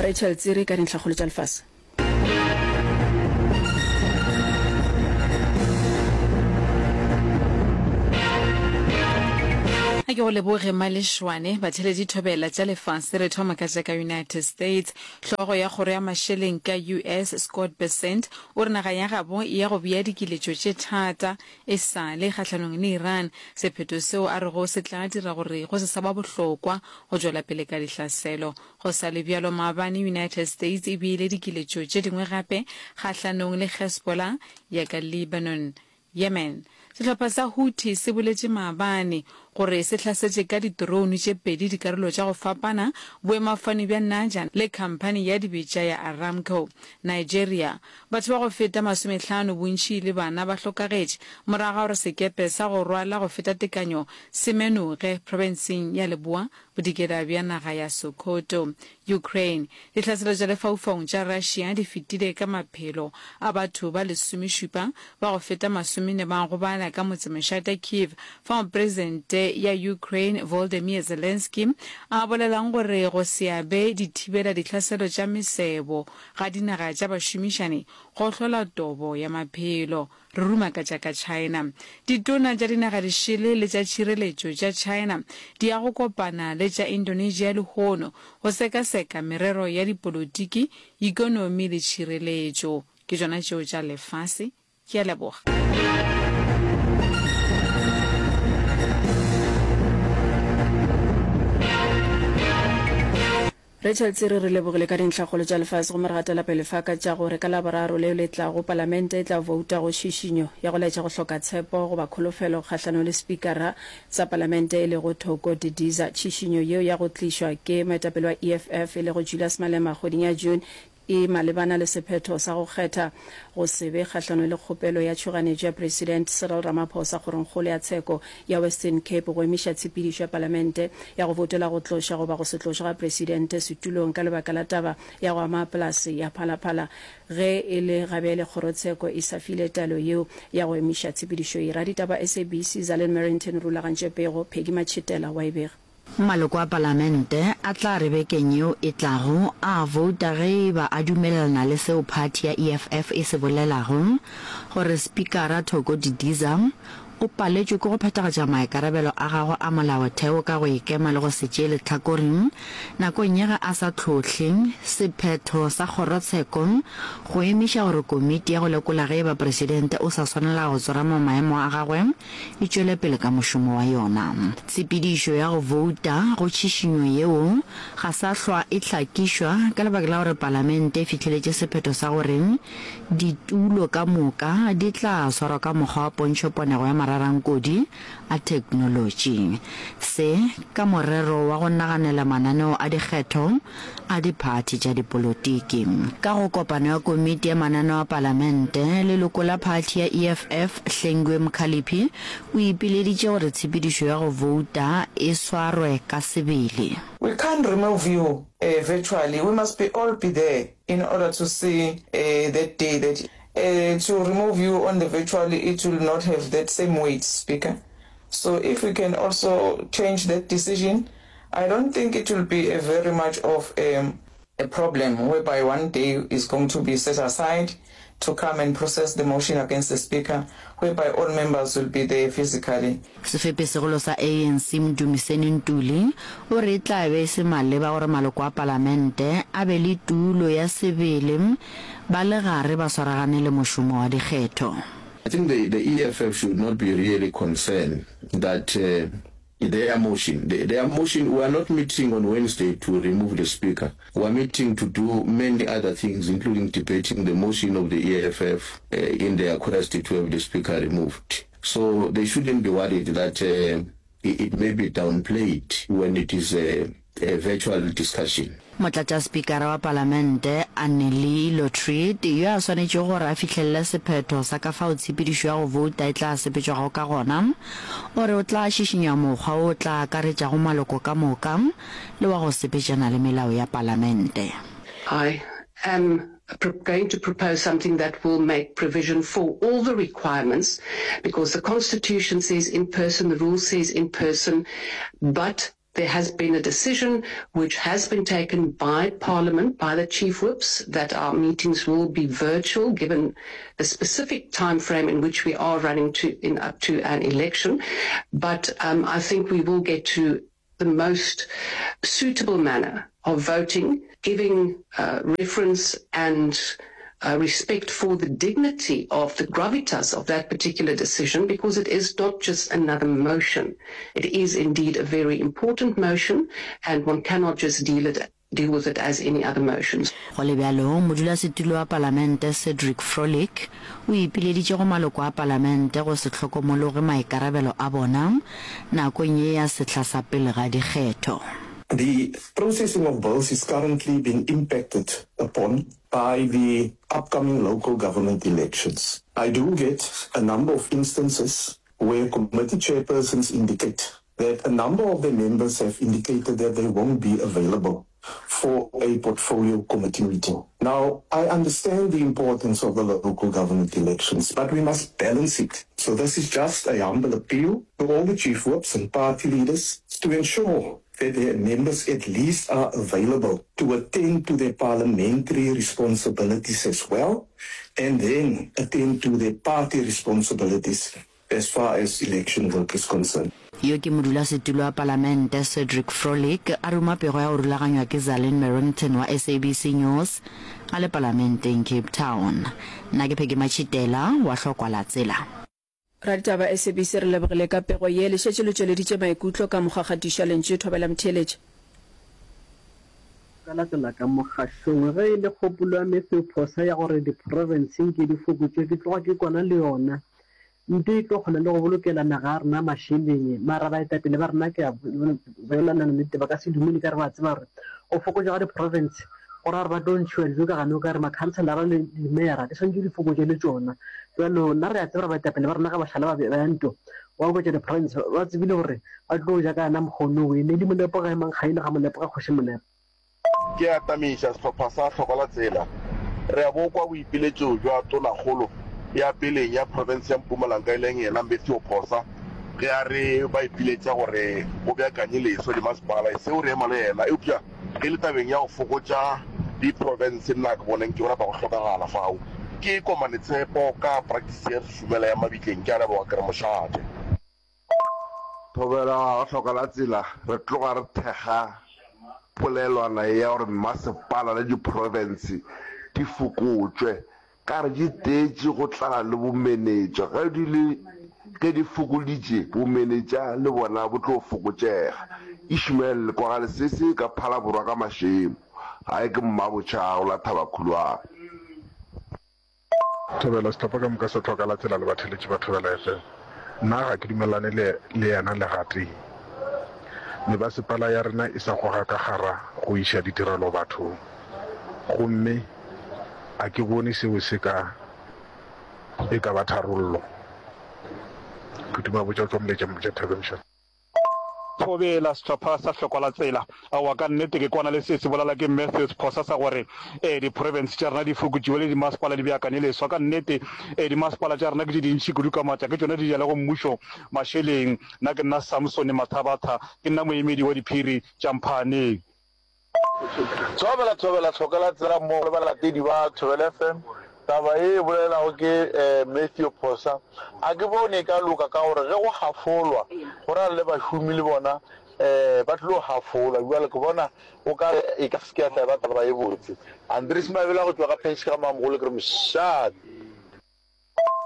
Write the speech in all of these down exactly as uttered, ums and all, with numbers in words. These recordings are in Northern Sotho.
Rachel Tsiri ka dintlhakgolo tša lefase. A ke go leboge Malešwane. Batheeletši thobela tša lefase re thoma ka tša ka United States. Hlogo ya kgoro ya mašeleng ka U S Scott Bessent o re naga ya gabo e ya go bea dikiletšo tše thata e sa le kgahlanong le Iran, sephetho seo a rego se tla dira gore go se sa ba bohlokwa go tšwela pele ka dihlaselo. Go sa le bjalo, maabane United States e beile dikiletšo tše dingwe gape kgahlanong le Hezbollah ya ka Lebanon. Yemen. Sehlopha sa Houthi se boletše maabane gore se hlasetše ka di-drone tše pedi dikarolo tša go fapana boemafofane bja Najan le khamphani ya dibetša ya Aramco. Nigeria. Batho ba go feta masomehlano, bontši e le bana, ba hlokagetše morago ga gore sekepe sa go rwala go feta tekanyo se menoge profenseng ya Leboa Bodikela bja naga ya Sokoto. Ukraine. Dihlaselo tša lefaufaung tša Russia di fetile ka maphelo a batho ba lesomešupa, ba go feta masomenne ba gobala ka motsemošate Kyiv, fao Presidente ya Ukraine Volodymyr Zelensky a bolelang gore go se abe dithibela dihlaselo tša mesebo ga dinaga tša bašomišani go hlola tobo ya maphelo. Re ruma ka tša ka China. Ditona tša dinaga dišele le tša tšhireletšo tša China di ya go kopana le tša Indonesia lehono go sekaseka merero ya dipolotiki, ekonomi le tšhireletšo. Ke tšona tšeo tša lefase. Ke a leboga. Rachel Tsiri re lebogile ka dintlhakgolo tša lefase gomme re gatela pele fa ka tša gore ka Laboraro leo le tlago Palamente e tla bouta go tšhišinyo ya go laetša go hloka tshepo goba kholofelo kgahlanong le Spikara sa Palamente e lego Thoko Didiza. Tšhišinyo yeo ya go tlišwa ke moetapele wa E F F e lego Julius Malema kgweding ya June e malebana le sephetho sa go kgetha go se be kgahlanong le kgopelo ya tšhoganetšo ya President Cyril Ramaphosa Kgorongkgolo ya Tsheko ya Western Cape go emiša tshepedišo ya Palamente ya go voutela go tloša goba go se tlošwe ga Presidente setulong ka lebaka la taba ya go ama polase ya Phala Phala. Ge e le gabjale kgorotsheko e sa file taelo yeo ya go emiša tshepedišo ye. Raditaba S A B C Zalin Merrington rulagantše pego, Peggy Matšhitela wa e bega. Maloko a Palamente a tla re bekeng yeo e tlago a vouta ge e ba a dumelelana le seo phathi ya E F F e se bolelago, gore Spikara Thoko Didiza o paletšwe ke go phethagatša maikarabelo a gagwe a molaotheo ka go ikema le go se tšee lehlakore nakong ya ge a sa hlohle sephetho sa kgorotsheko go emiša gore komiti ya go lekola ge e ba presidente o sa swanela go tsorama maemo a gagwe e tšwele pele ka mošomo wa yona. Tshepedišo ya go vouta go tšhišinyo yeo ga sa hlwa e hlakišwa ka lebaka la gore Palamente e fihleletše sephetho sa gore ditulo ka moka di tla swarwa ka mokgwa wa pontšhoponego ya mararankodi a theknolotši. Se ka morero wa go naganela mananeo a dikgetho a diphathi tša dipolotiki. Ka go kopano ya komiti ya mananeo a Palamente, leloko la phathi ya E F F Hlengiwe Mkhaliphi o ipileditše gore tshepedišo ya go vouta e swarwe ka sebele. We can't remove you uh, virtually. We must be all be there in order to see uh, that day that uh, to remove you on the virtually, it will not have that same weight, Speaker. So if we can also change that decision, I don't think it will be a very much of a, a problem whereby one day is going to be set aside to come and process the motion against the Speaker, whereby all members will be there physically. Sefepesegolo sa A N C Mdumiseni Ntuli o re e tla be e se maleba gore maloko a Palamente a be le tulo ya sebele ba le gare ba swaragane le mošomo wa dikgetho. I think the, the E F F should not be really concerned that uh, their motion, the, their motion, we are not meeting on Wednesday to remove the Speaker. We are meeting to do many other things, including debating the motion of the E F F uh, in their quest to have the Speaker removed. So they shouldn't be worried that uh, it, it may be downplayed when it is a, a virtual discussion. Motlatšaspikara wa Palamente Annelie Lotriet yo a swanetšego gore a fihlelele sephetho sa ka fao tshepedišo ya go vouta e tla sepetšwago ka gona o re o tla šišinya mokgwa wo o tla akaretšago maloko ka moka le wa go sepetšana le melao ya Palamente. I am going to propose something that will make provision for all the requirements, because the Constitution says in person, the rule says in person, but There has been a decision which has been taken by Parliament, by the Chief Whips, that our meetings will be virtual, given the specific time frame in which we are running to in up to an election. But um, I think we will get to the most suitable manner of voting, giving uh, reference and uh, respect for the dignity of the gravitas of that particular decision, because it is not just another motion. It is indeed a very important motion, and one cannot just deal it deal with it as any other motions. Go le bjalo, modulasetulo wa Palamente Cedric Frolick o ipileditše go maloko a Palamente go se hlokomologe maikarabelo a bona nakong ye ya sehla sa pele ga dikgetho. The processing of bills is currently being impacted upon by the upcoming local government elections. I do get a number of instances where committee chairpersons indicate that a number of their members have indicated that they won't be available for a portfolio committee meeting. Now, I understand the importance of the local government elections, but we must balance it. So this is just a humble appeal to all the chief whips and party leaders to ensure that their members at least are available to attend to their parliamentary responsibilities as well, and then attend to their party responsibilities as far as election work is concerned. Yo ke modulasetulo wa Palamente Cedric Frolick a ruma pego ya go rulaganywa ke Zalin Merrington wa S A B C News a le Palamenteng Cape Town. Nna ke Peggy Matšhitela wa Hlokwa la Tsela. Raditaba S A B C re lebogile ka pego ye, le šetše le tšweleditše maikutlo ka mokgwa kgatišo ya lentšu. Thobela Mtheeletše. Ka latela ka mogašong ge e le kgopolo ya Matthew Phosa ya gore diprofense nke di fokotšwe, ke tloga ke kwana le yona. Nte e tlo kgona le go bolokela naga ya rena mašeleng, mara baetapele ba rena ke a bolelana nnete ba ka se dumele ka re ba tseba gore go fokotšwa ga diprofense go ra gore ba tlo ntšhiwa dijo ka gane o ka re makhanselara le dimeyara di swanetše di fokotšwe le tšona. Bjalo nna re a tseba gore baetapele ba rena ga ba šala ba ya nto ba oketša diprofense ba tsebile gore ba tlo ja ka yena mokgono we ne di molepo ga emang kgaile ga molepo ga kgoši molepo. Ke atamiša sehlopha sa Hlokwa la Tsela. Re a bo kwa boipiletšo bja Tonakgolo ya peleng ya profense ya Mpumalanga e leng yena Matthew Phosa ge a re ba ipiletša gore go beakanye leswa dimasepala. Seo re ema le yena, eupša ge e le tabeng ya go fokotša diprofense nna ke boneng ke bona ba go hlokagala fao. Ke Komane Tshepo ka practice ya Šumela ya Mabitleng. Ke a leboga ke re mošate. Thobela ga Hloka la Tsela re tloga re thekga polelwana ya gore mmasepala le diprofense di fokotšwe ka re di teetše go tlala le bomenetša. Ge di le ge di fokoditše bomenetša le bona bo tlo fokotšega. Ishmael Lekwagale sese ka Phalaborwa ka Mašemo. Gae ke Mmabotšha go la Thabakhulwane. Thobela sehlopha ka moka sa Hloka la Tsela le batheeletši ba Thobela F M. Nna ga ke dumelane le le yena le gatee. Mebasepala ya rena e sa goga ka gara go iša ditirelo bathong. Gomme a ke bone seo se ka e ka ba tharollo. Phutuma botša tšwa moletša motša Thabeng. Thobela sehlopha sa Hlokwa la Tsela. Aowa ka nnete ke kwana le se se bolela ke Matthews Phosa sa gore eh diprovince tša rena di fokotšiwe le dimasepala di beakanye leswa. Ka nnete eh dimasepala tša rena ke tše dintši kudu ka maatla, ke tšona di ja le go mmušo mašeleng. Nna ke nna Samson Mathabatha, ke nna moemedi wa diphiri tša Mphaaneng. Thobela Thobela Hloka la Tsela mmogo le balatedi ba Thobela F M. Taba ye e bolelago ke Matthew Phosa. A ke bone e ka loka ka gore ge go hafolwa go ra le bašomi le bona ba tlilo hafolwa. Bjale ke bona o ka re e ka se ke ya tla ba taba ye botse. Andries Mabela go tšwa ga Pension ga Mamogolo ke re mošate.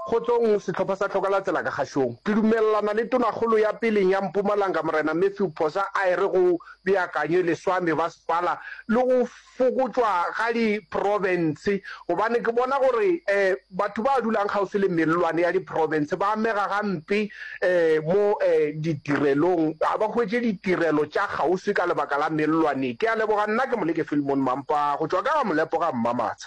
Kgotsong, sehlopha sa Hloka la Tsela ka kgašong. Ke dumelelana le Tonakgolo ya peleng ya Mpumalanga Morena Matthew Phosa a e re go beakanywe leswa mebasepala le go fokotšwa ga diprofense gobane ke bona gore um batho ba dulang kgauswi le mellwane ya diprofense ba amega gampe um mo um ditirelong, ga ba hwetše ditirelo tša kgauswi ka lebaka la mellwane. Ke a leboga. Nna ke Moleke Philemon Mampa go tšwa ka ga Molepo ga Mmamatsha.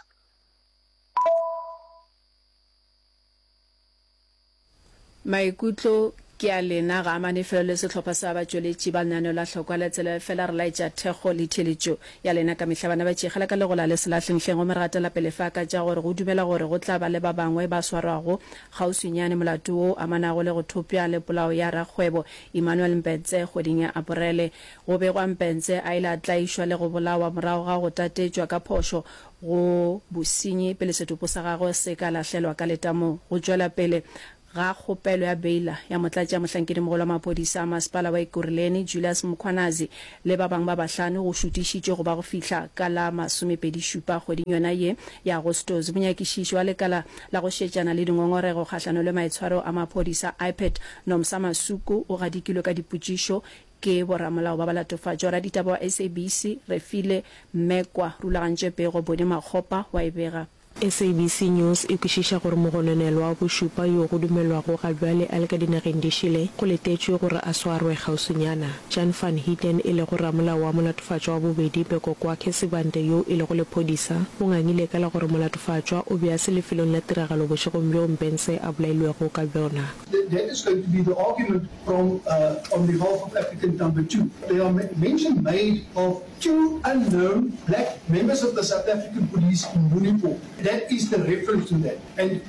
Maikutlo Ke a lena, ga amane felo le sehlopha sa batšweletši ba lenaneo la Hlokwa la Tsela, efela re laetša thekgo le theeletšo ya lena ka mehla. Bana ba tšegela ka legola le selahlenghleng gomme re gatela pele fa ka tša gore go dumela gore go tla ba le ba bangwe ba swarwago kgauswinyane molato wo o amanago le go thopša le polao ya rakgwebo Emmanuel Mpetse kgweding ya Aporele. Go begwa Mpetse a ile a tlaišwa le go bolawa morago ga go tatetšwa ka phošo go bosenyi pele setopo sa gagwe se ka lahlelwa ka letamong. Go tšwela pele ga kgopelo ya beila ya motlatšamohlankedimogolo wa maphodisa a masepala wa Ekurhuleni, Julius Mkhwanazi le ba bangwe ba bahlano go šutišitšwe go ba go fihla ka la masomepedi šupa kgweding yona ye ya Agostose. Monyakišiši wa lekala la go šetšana le dingongorego kgahlano le maitshwaro a maphodisa, I P E D, Nomsa Masuku o gadikilwe ka dipotšišo ke boramolao ba balatofatšwa. Raditaba wa S A B C, Refile Mmekwa rulagantše pego, Boni Makgopa wa e bega. S A B C News e kwešiša gore mogononelwa wa bošupa yo go dumelwago ga bjale a le ka dinageng di šele, go letetšwe gore a swarwe kgauswinyana. Jan van Heerden e lego ramolao wa molatofatšwa wa bobedi Bekokwakhe Sibande yo e lego lephodisa, o ngangile ka la gore molatofatšwa o be a se lefelong la tiragalo bošegong bjo Mbense a bolailwego ka bjona. That is going to be the argument from uh, on behalf of applicant number two. There are mention made of two unknown black members of the South African police in uniform. That is the reference to that. And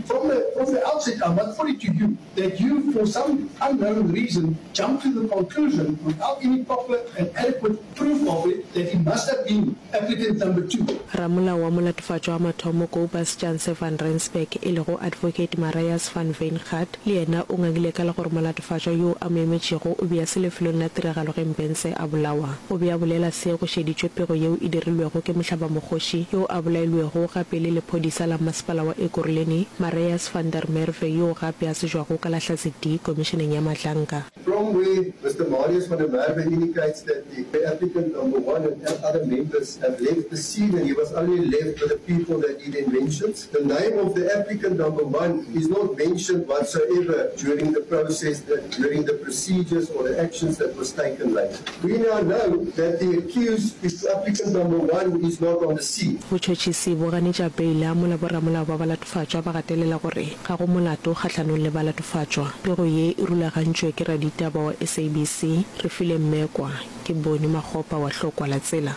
from the, from the outset, I must put it to you that you, for some unknown reason, jumped to the conclusion without any proper and adequate proof of it that he must have been applicant number two. Ramolao wa molatofatšwa wa mathomo Kobus Janse van Rensburg e lego Advocate Marius van Wyngaard le yena o ngangile ka la gore molatofatšwa yo a mo emetšego o be a se lefelong la tiragalo ge Mbense a bolawa. O be a bolela se go šeditšwe pego yeo e dirilwego ke mohlabamokgoši yo a bolailwego gape le lephodisa la masepala wa Ekurhuleni Marius van der Merwe yo gape a tsebjwago ka la Hlatse D komišeneng ya Madlanga. From where Mister Marius van der Merwe indicates that the applicant number one and other members have left the scene and he was only left with the people that he then mentions. The name of the applicant number one is not mentioned whatsoever during the process, that during the procedures or the actions that was taken later. We now know that the accused is applicant number one is not on the scene. Botšhotšhisi bo ganetša beila mola boramolao ba balatofatšwa ba gatelela gore ga go molato kgahlanong le balatofatšwa. Pego ye e rulagantšwe ke raditaba wa S A B C, Refile Mmekwa. Ke Boni Makgopa wa Hlokwa la Tsela.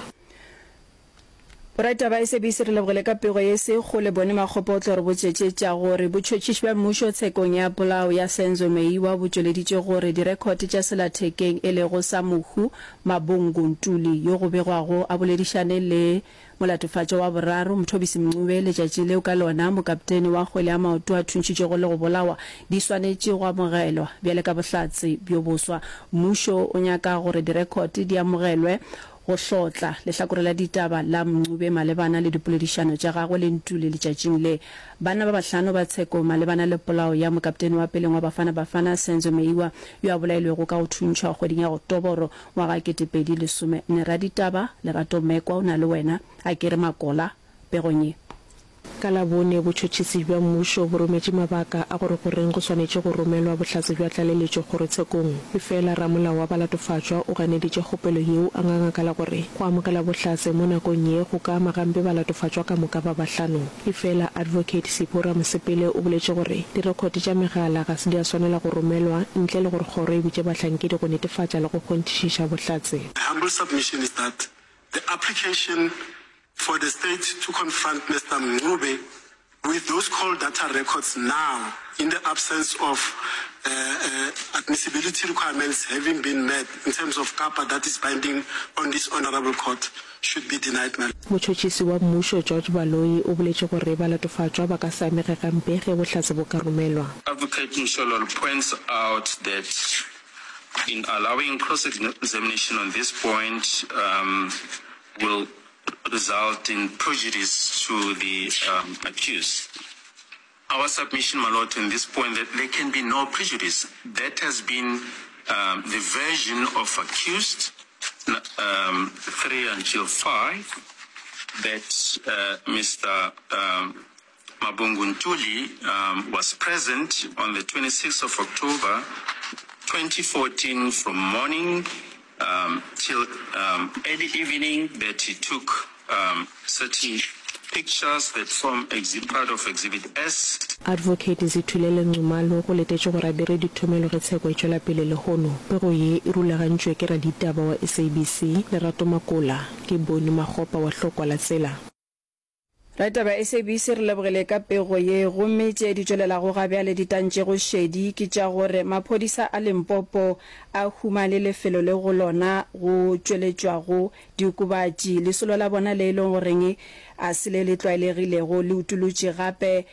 Boraditaba S A B C re lebogile ka pego ye se kgole. Boni Makgopa o tlo re botšetše tša gore botšhotšhiši bja mmušo tshekong ya polao ya Senzo Meyiwa bo tšweleditše gore direkhote tša selathekeng e lego sa mohu Mabongo Ntuli yo go begwago a boledišane le molatofatšwa wa boraro Mthobisi Mncube letšatši leo ka lona mokaptene wa kgwele ya maoto a thuntšhitšwego le go bolawa di swanetše go amogelwa bjale ka bohlatse bjo boswa. Mmušo o nyaka gore direkhote di amogelwe go hlotla lehlakore la ditaba la Mncube malebana le dipoledišano tša gagwe le Ntuli letšatšing le. Banna ba bahlano ba tsheko malebana le polao ya mokaptene wa peleng wa Bafana Bafana Senzo Meyiwa yo a bolailwego ka go thuntšhwa kgweding ya Oktoboro ngwaga kete pedi lesome nne. Raditaba Lerato Mekwa o na le wena a ke re makola pegong ye. Ka Labone, botšhotšhisi bja mmušo bo rometše mabaka a gore goreng go swanetše go romelwa bohlatse bja tlaleletšo kgorotshekong. Efela ramolao wa balatofatšwa o ganeditše kgopelo yeo a nganga ka la gore go amogela bohlatse mo nakong ye go ka ama gampe balatofatšwa ka moka ba bahlano. Efela Advocate Sipho Ramosepele o boletše gore direkhote tša megala ga se di a swanela go romelwa ntle le gore kgoro e bitše bahlankedi go netefatša le go kgonthišiša bohlatse. My humble submission is that the application for the state to confront Mister Mncube with those call data records now in the absence of uh, uh, admissibility requirements having been met in terms of CAPA that is binding on this honorable court should be denied, my Motšhotšhisi wa mmušo George Baloyi o boletše gore balatofatšwa ba ka se amege gampe ge bohlatse bo ka romelwa. Advocate Mshololo points out that in allowing cross-examination on this point, um, will result in prejudice to the, um, accused. Our submission, my lord, on this point, that there can be no prejudice. That has been, um, the version of accused, um, three until five, that, uh, Mister, um, Mabungu Ntuli, um, was present on the twenty-sixth of October twenty fourteen from morning, um, till, um, early evening, that he took, um, certain Pictures that form exhibit part of Exhibit S. Advocate Zithulele Nxumalo go letetšwe gore a dire dithomelo ge tsheko e tšwela pele lehono. Pego ye e rulagantšwe ke raditaba wa S A B C, Lerato Makola. Ke Boni Makgopa wa Hlokwa la Tsela. Raditaba S A B C re lebogile ka pego ye, gomme tše di tšwelelago ga bjale di tantšego šedi ke tša gore maphodisa a Limpopo a humane lefelo le go lona go tšweletšwago diokobatši. Lesolo la bona le e leng goreng a se le le tlwaelegilego le utolotše gape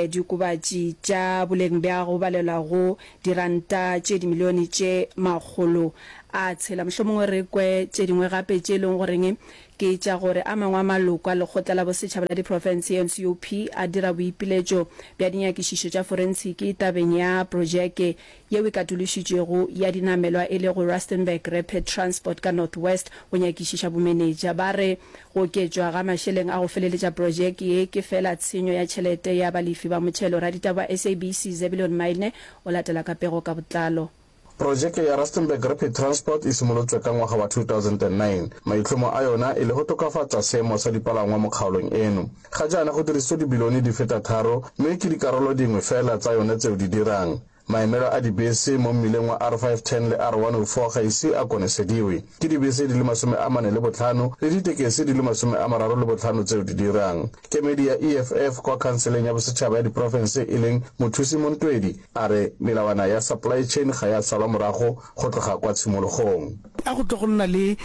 diokobatši tša boleng bja go balelwa go diranta tše dimilione tše makgolo a tshela. Mohlomongwe re kwe tše dingwe gape tše e leng goreng ke tša gore a mangwe a maloko a Lekgotla la Bosetšhaba la Diprofense, N C O P, a dira boipiletšo bja dinyakišišo tša forensiki tabeng ya projeke yeo e katološitšwego ya dinamelwa e lego Rustenburg Rapid Transport ka North West go nyakišiša bomenetša. Ba re go oketšwa ga mašeleng a go feleletša projeke ye ke feela tshenyo ya tšhelete ya balefi ba motšhelo. Raditaba wa S A B C Zebulon Maine o latela ka pego ka botlalo. Projeke ya Rustenburg Rapid Transport e simolotšwe ka ngwaga wa two thousand and nine, maitlhomo a yona e le go tokafatša seemo sa dipalangwa mo kgaolong eno. Ga jaana go dirisitswe dibilione di feta tharo mme ke dikarolo dingwe fela tsa yone tseo di dirang. Maemelo a dibese mo mmileng wa R five ten le R one oh four ga ise a konesediwe. Ke dibese di le masome a mane le botlhano le ditekesi di le masome a mararo le botlhano tseo di dirang. Kemedi ya E F F kwa Khanseleng ya Bosetšhaba ya Diprofense e leng Mothusi Montwedi a re melawana ya supply chain ga ya salwa morago go tloga kwa tshimologong. A go tle go nna le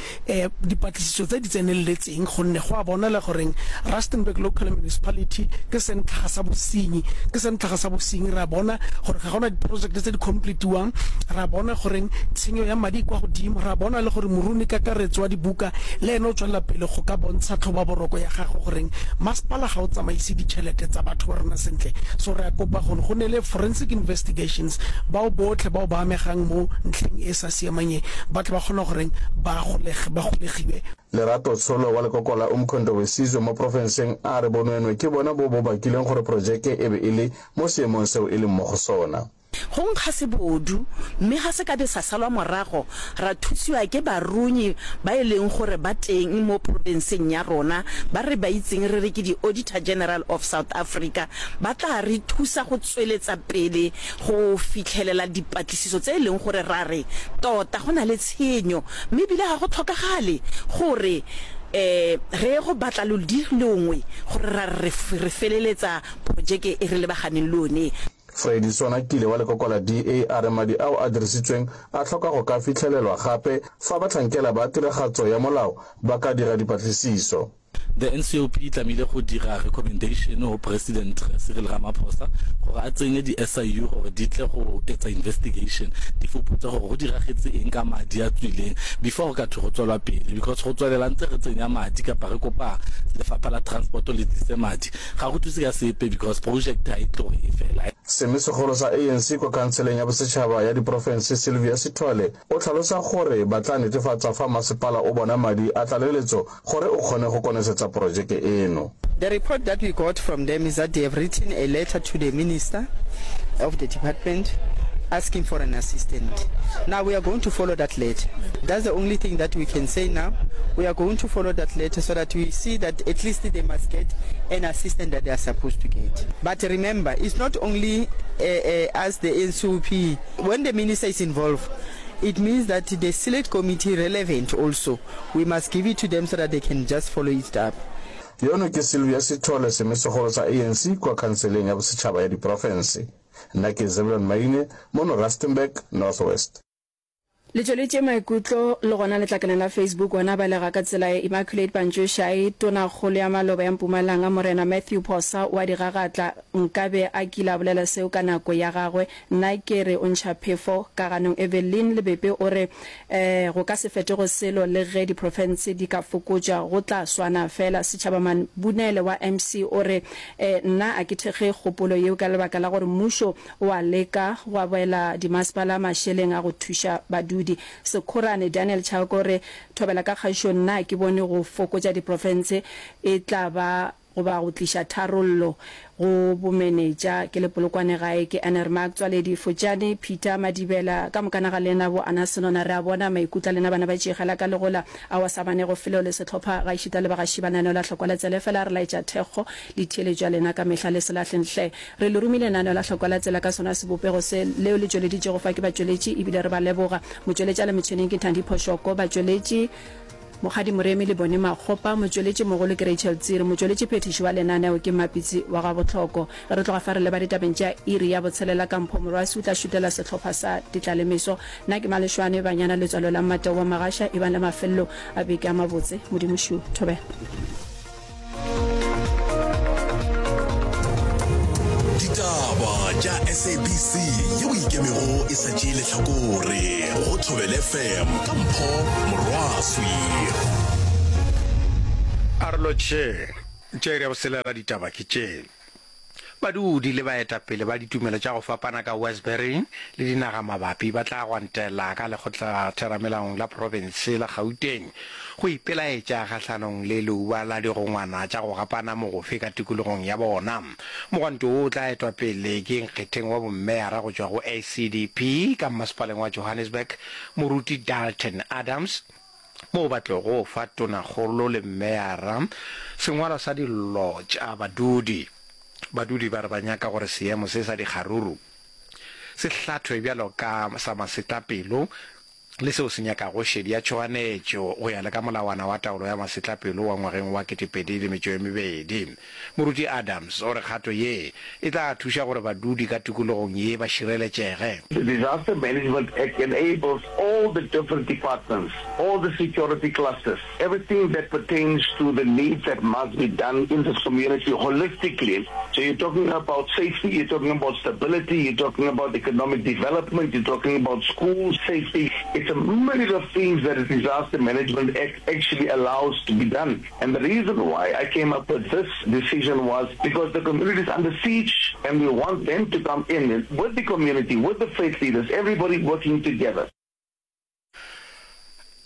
dipatlisiso tse di tseneletseng gonne go a bonala goreng Rustenburg Local Municipality ke sentlhaga sa bosenyi, ke sentlhaga sa bosenyi. Re a bona gore ga gona diprojekte tse di completiwang, re a bona goreng tshenyo ya madi e kwa godimo, re a bona le gore moruni kakaretso wa dibuka le ene o tswelela pele go ka bontsha tlhobaboroko ya gagwe goreng masepala ga o tsamaise ditšhelete tsa batho ba rona sentle. So re a kopa gore go ne le forensic investigations, bao botlhe bao ba amegang mo ntlheng e sa siamang e ba tle ba kgona goreng ba golege ba golegiwe. Lerato Tsholo wa lekoko la Umkhonto weSizwe mo profenseng a re bonweenwee ke bona bo bo bakileng gore projeke e be e le mo seemong seo e leng mo go sona. Go nkga sebodu mme ga se ka be sa salwa morago ra thusiwa ke barunyi ba e leng gore ba teng mo profenseng ya rona ba re ba itseng re re ke di-Auditor General of South Africa ba tla re thusa go tsweletsa pele go fitlhelela dipatlisiso tse e leng gore ra re tota go na le tshenyo mme ebile ga go tlhokagale gore um re ye go batla lodi longwe gore ra re re feleletsa projeke e re lebaganeng le yone. Freddy Sonakile wa lekoko la D A a re madi ao a dirisitsweng a hloka go ka fihlelelwa gape fa bahlankela ba tiragatso ya molao ba ka dira dipatlisiso. The N C O P e tlamehile go dira recommendation go President Cyril Ramaphosa gore a tsenye di S I U gore di tle go etsa investigation, di fuputse gore go diragetse eng ka madi a tswileng before go ka thwe go tswelwa pele, because go tswelela ntse re tsenya madi kapa re kopa lefapha la transport le tlise madi ga go thuse ka sepe because project ha e tloge e fela. Semisegolo sa A N C kwa Khanseleng ya Bosetšhaba ya Diprofense Sylvia Sithole o hlalosa gore ba tla netefatsa fa masepala o bona madi a tlaleletso gore o kgone go konesetsa projeke eno. The report that we got from them is that they have written a letter to the minister of the department asking for an assistant. Now we are going to follow that letter. That's the only thing that we can say now. We are going to follow that letter so that we see that at least they must get an assistant that they are supposed to get. But remember, it's not only uh, uh, us, the N C O P. When the minister is involved, it means that the select committee relevant also. We must give it to them so that they can just follow it up. Yono ke Sylvia Sithole, semisegolo sa A N C kwa Khanseleng ya Bosetšhaba ya Diprofense. Nna ke Zebulon Maine, mono Rustenburg, North West. Le tšweletše maikutlo le gona letlakaleng la Facebook ona balega ka tsela ye. Immaculate Pantšošai, Tonakgolo ya maloba ya Mpumalanga Morena Matthew Phosa wa digagatla nkabe a kile a bolela seo ka nako ya gagwe, nna ke re o ntšha phefo ka ganong. Evelyn Lebepe o re um go ka se fetoge selo le ge diprofense di ka fokotšwa go tla swana fela. Setšhaba Mabunele wa M C o re um nna a ke thekge kgopolo yeo ka lebaka la gore mmušo o a leka go abela dimasepala mašeleng a go thuša badudi. Sekhorane Daniel Chauke o re thobela ka kgašo, nna ke bone go fokotša diprofense e tla ba goba go tliša tharollo go bomenetša. Ke le Polokwane gae ke Ener Mark Tswaledi Fotšane Peter Madibela ka mokana ga lena bo Ana Senona re a bona maikutlo a lena bana ba tšegela ka legola ao a sa banego felo le sehlopha gaešita le bagaši ba lenaneo la Hlokwa la Tsela efela re laetša thekgo le theeletšo ya lena ka mehla le se lahleng hle re le romile lenaneo la Hlokwa la Tsela ka sona sebopego se leo le tšweleditšego fa ke batšweletši ebile re ba leboga motšweletši a le metšheneng ke Thandi Phošoko batšweletši Mokgadi Moremi le Bonnie Makgopa, motšweletši mogolo ke Rachel Tsiri, motšweletši phethiši wa lenaneo ke Mmapitsi wa ga Bohloko. Ge re tloga fa re leba ditabeng tša iri ya botshelela ka Mpho Morwasi o tla šutela sehlopha sa Ditlalemeso. Nna ke Maleshwane Banyana Letswalo la Mmateo wa Magasha, ebang le mafelelo a beke a mabotse. Modimo šo. Thobela. Ditaba tša S A B C yeo e ikemego e sa tšee lehlakore go Thobela F M ka Mpho Morwaswi. A re lotšheng. Tša iri ya boselela ditaba ke tše. Badudi le baetapele ba ditumelo tša go fapana ka Westbury le dinaga mabapi ba tla gwantela ka lekgotlatheramelaong la profense la Gauteng go ipelaetša kgahlanong le leuba la digongwana tša go gapana mogofe ka tikologong ya bona. Mogwanto wo o tla etwa pele ke nkgetheng wa bommeyara go tšwa go A C D P ka mmasepaleng wa Johannesburg, Moruti Dalton Adams, moo ba tlogo fa tonakgolo le mmeyara sengwalwa sa dillo tša badudi. Badudi ba re ba nyaka gore seemo se sa dikgaruru se hlathwe bjalo ka sa masetlapelo le seo se nyakago šedi ya tšhoganetšo go ya le ka molawana wa taolo ya masetlapelo wa ngwageng wa ketepedi le metšo e mebedi. Moruti Adams o re kgato ye e tla thuša gore badudi ka tikologong ye ba šireletšege. The Disaster Management Act enables all the different departments, all the security clusters, everything that pertains to the needs that must be done in this community holistically. So you're talking about safety, you're talking about stability, you're talking about economic development, you're talking about school safety. It's a myriad of things that the Disaster Management Act actually allows to be done. And the reason why I came up with this decision was because the community is under siege and we want them to come in with the community, with the faith leaders, everybody working together.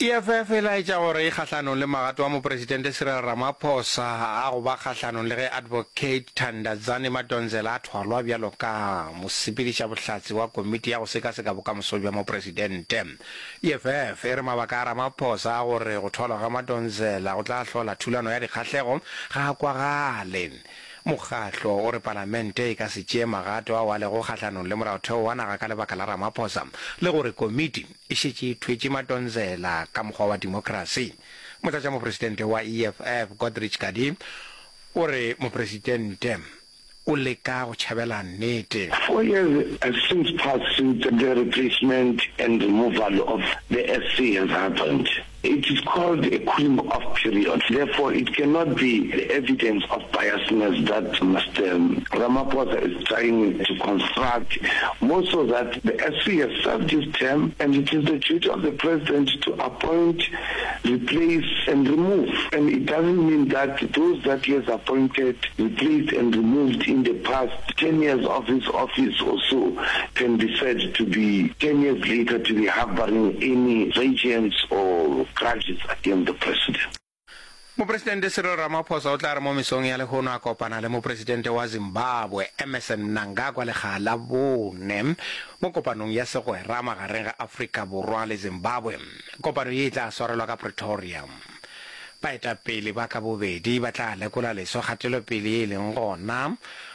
E F F e laetša gore e kgahlanong le magato a Mopresidente Cyril Ramaphosa a go ba kgahlanong le ge Advocate Thandazani Madonsela a thwalwa bjalo ka mosepedišabohlatse wa komiti ya go sekaseka bokamoso bja Mopresidente. E F F e re mabaka a Ramaphosa a gore go thwalwa ga Madonsela go tla hlola thulano ya dikgahlego ga a kwagale. Mokgatlo o re palamente e ka se tšee magato ao a lego kgahlanong le molaotheo wa naga ka lebaka la Ramaphosa le gore komiti e šetše e thwetše Madonsela ka mokgwa wa demokrasi. Motlatšamopresidente wa E F F Godrich Gardee o re mopresidente o leka go tšhabela nnete. Four years have since passed since the replacement and removal of the S C has happened. It is called a cooling off period. Therefore, it cannot be the evidence of biasness that Mister Ramaphosa is trying to construct, more so that the S C has served his term and it is the duty of the president to appoint, replace and remove. And it doesn't mean that those that he has appointed, replaced and removed in the past ten years of his office or so can be said to be ten years later to be harboring any vengeance or grudges against the president. Mopresidente Cyril Ramaphosa o tla re mo mesong ya lehono a kopana le mopresidente wa Zimbabwe Emmerson Mnangagwa lekga la bone mo kopanong ya segwera magareng ga Afrika Borwa le Zimbabwe. Kopano ye e tla swarelwa ka Pretoria. Baetapele ba ka bobedi ba tla lekola leswa kgatelopele ye e leng gona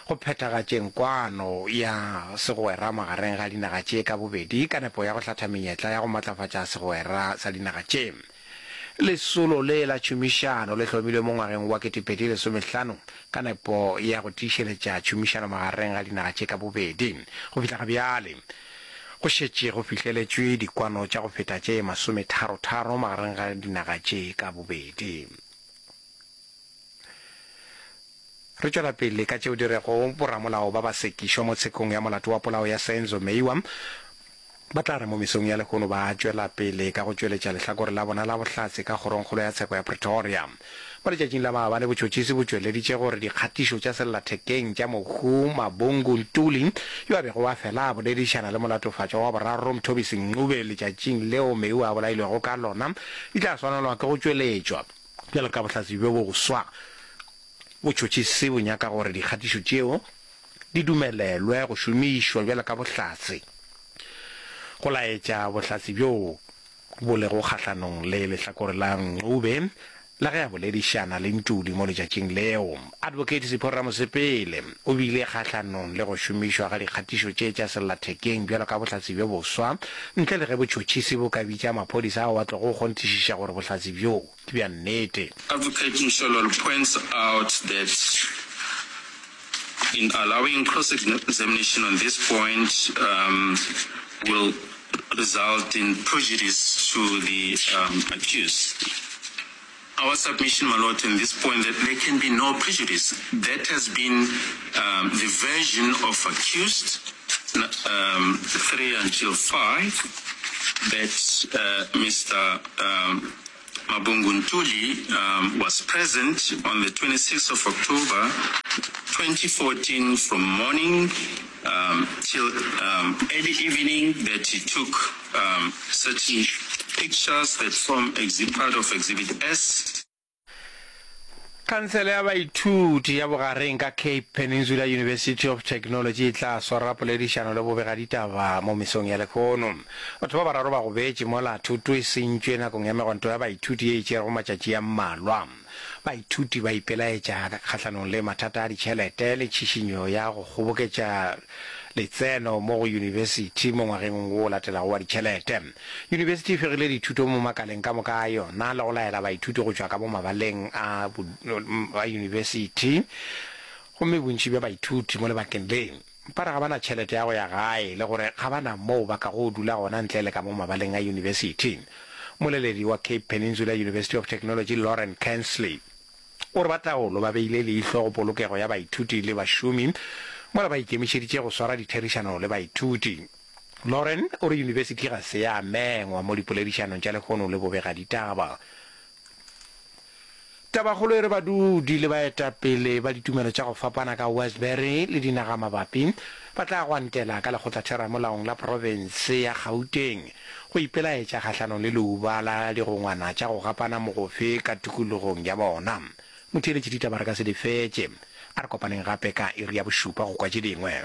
go phethagatšeng kwano ya segwera magareng ga dinaga tše ka bobedi ka nepo ya go hlatha menyetla ya go matlafatša segwera sa dinaga tše. Lesolo le la tšhomišano le hlomilwe mo ngwageng wa ketepedi lesomehlano ka nepo ya go tiišeletša tšhomišano magareng ga dinaga tše ka bobedi. Go fihla ga bjale, go šetše go fihleletšwe dikwano tša go feta tše masometharo-tharo magareng ga dinaga tše ka bobedi. Re tšwela pele ka tšeo di rego boramolao ba ba sekišwa mo tshekong ya molato wa polao ya Senzo Meyiwa ba tla re mo mesong ya lehono ba tšwela pele ka go tšweletša lehlakore la bona la bohlatse ka kgorongkgolo ya tsheko ya Pretoria. Mo letšatšing la maabane botšhotšhisi bo tšweleditše gore dikgatišo tša sellathekeng tša mohu Mabungu Ntuli yo a bego a fela a boledišana le molatofatšwa wa boraro Mthobisi Ncube letšatšing leo Meyiwa a bolailwego ka lona di tla swanelwa ke go tšweletšwa bjalo ka bohlatse bjo boswa. Botšhotšhisi bo nyaka gore dikgatišo tšeo di dumelelwe go šomišwa bjalo ka bohlatse go laetša bohlatse bjoo bo lego kgahlanong le lehlakore la Ncube la ge a boledišana le Ntuli mo letšatšing leo. Advocate Sipho Ramosepele o bile kgahlanong le go šomišwa ga dikgatišo tše tša sellathekeng bjalo ka bohlatse bjo boswa ntle le ge botšhotšhisi bo ka bitša maphodisa ao a tlogo kgonthišiša gore bohlatse bjoo ke bja nnete. Advocate Mshololo points out that in allowing cross-examination on this point um, will result in prejudice to the um, accused. Our submission, my lord, on this point that there can be no prejudice. That has been um, the version of accused um, three until five that uh, Mr. Um, Mabungu Ntuli um, was present on the twenty-sixth of October twenty fourteen from morning um, till um, early evening, that he took um, certain pictures that form exhi- part of Exhibit S. Khansele ya Baithuti ya Bogareng ka Cape Peninsula University of Technology e tla swara poledišano le bobegaditaba mo mesong ya lehono. Batho ba bararo ba gobetše mola thoto e sentšwe nakong ya megwanto ya baithuti ye e tšerego matšatši a mmalwa. Baithuti ba ipelaetša kgahlanong le mathata a ditšhelete le tšhišinyo ya go kgoboketša letseno mo go yunibesithi mo ngwageng wo o latelago wa ditšhelete. Yunibesithi e fegile dithuto mo makaleng ka moka a yona le go laela baithuti go tšwa ka mo mabaleng a a yunibesithi gomme bontši bja baithuti mo lebakeng le ba re ga ba na tšhelete ya go ya gae le gore ga ba na moo ba kago dula gona ntle le ka mo mabaleng a yunibesithi. Mmoleledi wa Cape Peninsula University of Technology Lauren Kansley o re ba taolo ba beile leihlo go polokego ya baithuti le bašomi mola ba ikemišeditše go swara ditherišano le baithuti. Lauren o re yunibesithi ga se ya mengwa mo dipoledišanong tša lehono le bobegaditaba. Tabakgolo e re badudi le baetapele ba ditumelo tša go fapana ka Westbury le dinagamabapi ba tla gwantela ka lekgotlatheramolaong la profense ya Gauteng go ipelaetša kgahlanong le leuba la digongwana tša go gapana mogofe ka tikologong ya bona. Motheeletši ditaba re ka se di fetše. A re kopaneng gape ka iri ya bošupa go kwa tše dingwe.